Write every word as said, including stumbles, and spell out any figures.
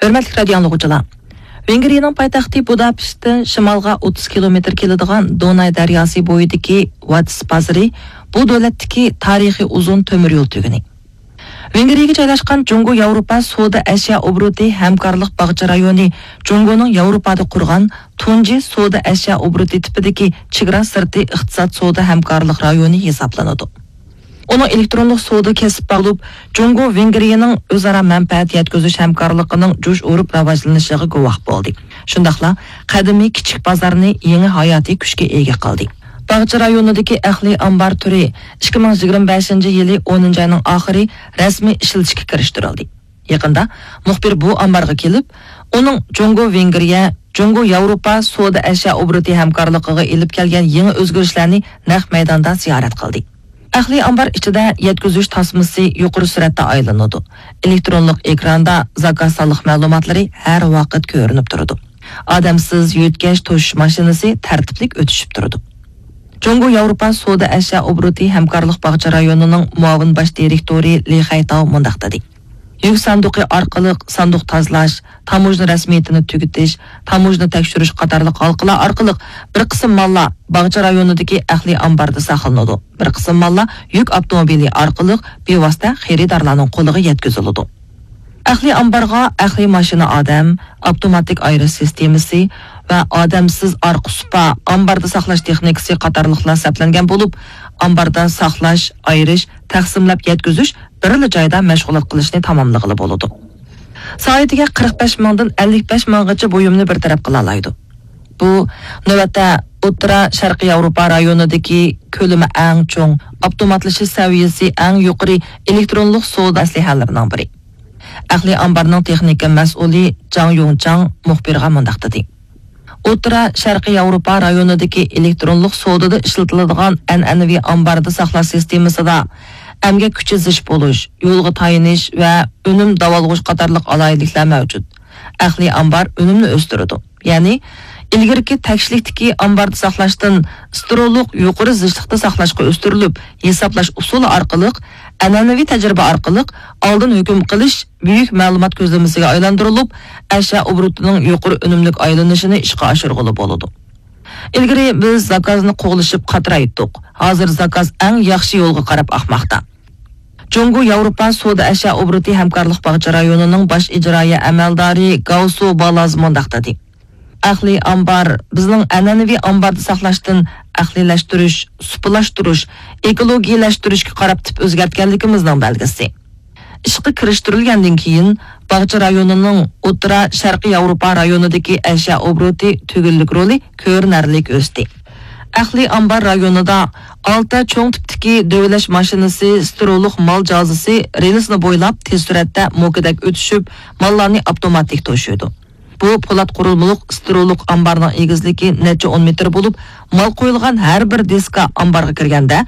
ھۆرمەتلىك رادىيو ئاڭلىغۇچىلار! ۋېنگرىيەنىڭ پايتەختى بۇداپېشتتىن شىمالغا ئوتتۇز كىلومېتىر كېلىدىغان دوناي دەرياسى بويىدىكى ۋاتس بازىرى بۇ دۆلەتتىكى تارىخىي ئۇزۇن تۆمۈر يول تۈگۈنى. ۋېنگرىيەگە جايلاشقان جۇڭگو ياۋروپا سودا ئەشيا ئوبوروتى ھەمكارلىق باغچە رايونى جۇڭگونىڭ ياۋروپادا قۇرغان تۇنجى سودا ئەشيا ئوبوروتى تىپىدىكى چېگرا سىرتى ئىقتىساد سودا ھەمكارلىق رايونى ھېسابلىنىدۇ. ئۇنىڭ ئېلېكترونلۇق سودا كەسىپ بولۇپ، جۇڭگو ۋېنگرىيەنىڭ ئۆزئارا مەنپەئەت يەتكۈزۈش ھەمكارلىقىنىڭ جۇش ئۇرۇپ راۋاجلىنىشىغا گۇۋاھ بولدى. شۇنداقلا قەدىمىي كىچىك بازارنى يېڭى ھاياتىي كۈچكە ئىگە قىلدى. باغچە رايونىدىكى ئەقلىي ئامبار تۈرى ئىككى مىڭ يىگىرمە بەشىنچى يىلى ئونىنچى ئاينىڭ ئاخىرى رەسمىي ئىشلىتىشكە كىرىشتۈرۈلدى. يېقىندا مۇخبىر بۇ ئامبارغا كېلىپ، ئۇنىڭ جۇڭگو ۋېنگرىيە، جۇڭگو ياۋروپا سودا ئەشيا ئوبوروتى ھەمكارلىقىغا ئېلىپ كەلگەن يېڭى ئۆزگىرىشلەرنى نەق مەيداندا زىيارەت قىلدى. ئەقلىي ئامبار ئىچىدە يەتكۈزۈش تاسمىسى يۇقىرى سۈرئەتتە ئايلىنىدۇ. ئېلېكترونلۇق ئېكراندا زاكاز سانلىق مەلۇماتلىرى ھەر ۋاقىت كۆرۈنۈپ تۇرىدۇ. ئادەمسىز يۆتكەش توشۇش ماشىنىسى تەرتىپلىك ئۆتۈشۈپ تۇرىدۇ. جۇڭگو ياۋروپا سودا ئەشيا ئوبوروتى ھەمكارلىق باغچە رايونىنىڭ مۇئاۋىن باش دىرېكتورى لى خەيتاۋ مۇنداق دېدى: يۈك ساندۇقى ئارقىلىق ساندۇق تازىلاش، تاموژنا رەسمىيىتىنى تۈگىتىش، تاموژنا تەكشۈرۈش قاتارلىق ھالقىلار ئارقىلىق بىر قىسىم ماللار باغچە رايونىدىكى ئەقلىي ئامباردا ساقلىنىدۇ، بىر قىسىم ماللار يۈك ئاپتوموبىلى ئارقىلىق بىۋاسىتە خېرىدارلارنىڭ قولىغا يەتكۈزۈلىدۇ. ئەقلىي ئامبارغا ئەقلىي ماشىنا ئادەم، ئاپتوماتىك ئايرىش سىستېمىسى ۋە ئادەمسىز ئارقا سۇپا، ئامباردا ساقلاش تېخنىكىسى قاتارلىقلار سەپلەنگەن بولۇپ، ئامباردا ساقلاش، ئايرىش، تەقسىملەپ يەتكۈزۈش بىرلا جايدا مەشغۇلات قىلىشنى تاماملىغىلى بولىدۇ. سائىتىگە قىرىق بەش مىڭدىن ئەللىك بەش مىڭغىچە بۇيۇمنى بىر تەرەپ قىلالايدۇ. بۇ نۆۋەتتە ئوتتۇرا شەرقىي ياۋروپا رايونىدىكى كۆلىمى ئەڭ چوڭ، ئاپتوماتلىشىش سەۋىيەسى ئەڭ يۇقىرى ئېلېكترونلۇق سودا ئەسلىھەلىرىنىڭ بىرى. ئەقلىي ئامبارنىڭ تېخنىكا مەسئۇلى جاڭ يۇڭچاڭ مۇخبىرغا مۇنداق دېدى: ئوتتۇرا شەرقىي ياۋروپا رايونىدىكى ئېلېكترونلۇق سودىدا ئىشلىتىلىدىغان ئەنئەنىۋى ئامباردا ساقلاش سىستېمىسىدا ئەمگەك كۈچى زىچ بولۇش، يولغا تايىنىش ۋە ئۈنۈم داۋالغۇش قاتارلىق ئالاھىدىلىكلەر مەۋجۇت. ئەقلىي ئامبار ئۈنۈمنى ئۆستۈرىدۇ. يەنى ئىلگىرىكى تەكشىلىكتىكى ئامباردا ساقلاشتىن ستېرېئولۇق يۇقىرى زىچلىقتا ساقلاشقا ئۆستۈرۈلۈپ، ھېسابلاش ئۇسۇلى ئارقىلىق، ئەنئەنىۋى تەجرىبە ئارقىلىق ئالدىن ھۆكۈم قىلىش بۈيۈك مەلۇمات كۆزلىمىسىگە ئايلاندۇرۇلۇپ، ئەشيا ئوبوروتىنىڭ يۇقىرى ئۈنۈملۈك ئايلىنىشىنى ئىشقا ئاشۇرغىلى بولىدۇ. ئىلگىرى بىز زاكازنى قوغلىشىپ قاترايتتۇق. ھازىر زاكاز ئەڭ ياخشى يولغا قاراپ ئاقماقتا. جۇڭگو ياۋروپا سودا ئەشيا ئوبوروتى ھەمكارلىق باغچە رايونىنىڭ باش ئىجرائىيە ئەمەلدارى گاۋسۇ بالاز مۇنداق دېدى: ئەقلىي ئامبار بىزنىڭ ئەنئەنىۋى ئامباردا ساقلاشتىن ئەقلىيلەشتۈرۈش، سۇپىلاشتۇرۇش، ئېكولوگىيەلەشتۈرۈشكە قاراپ تىپ ئۆزگەرتكەنلىكىمىزنىڭ بەلگىسى. ئىشقا كىرىشتۈرۈلگەندىن كېيىن، باغچە رايونىنىڭ ئوتتۇرا شەرقىي ياۋروپا رايونىدىكى ئەشيا ئوبوروتى تۈگۈنلۈك رولى كۆرۈنەرلىك ئۆستى. ئەقلىي ئامبار رايونىدا ئالتە چوڭ تىپتىكى دۆۋىلەش ماشىنىسى ستېرېئولۇق مال جازىسى رېلىسنى بويلاپ تېز سۈرئەتتە موكىدەك ئۆتۈشۈپ، ماللارنى ئاپتوماتىك توشۇيدۇ. بۇ پولات قۇرۇلمىلىق ستېرېئولۇق ئامبارنىڭ ئېگىزلىكى نەچچە ئون مېتىر بولۇپ، مال قويۇلغان ھەر بىر دىسكا ئامبارغا كىرگەندە،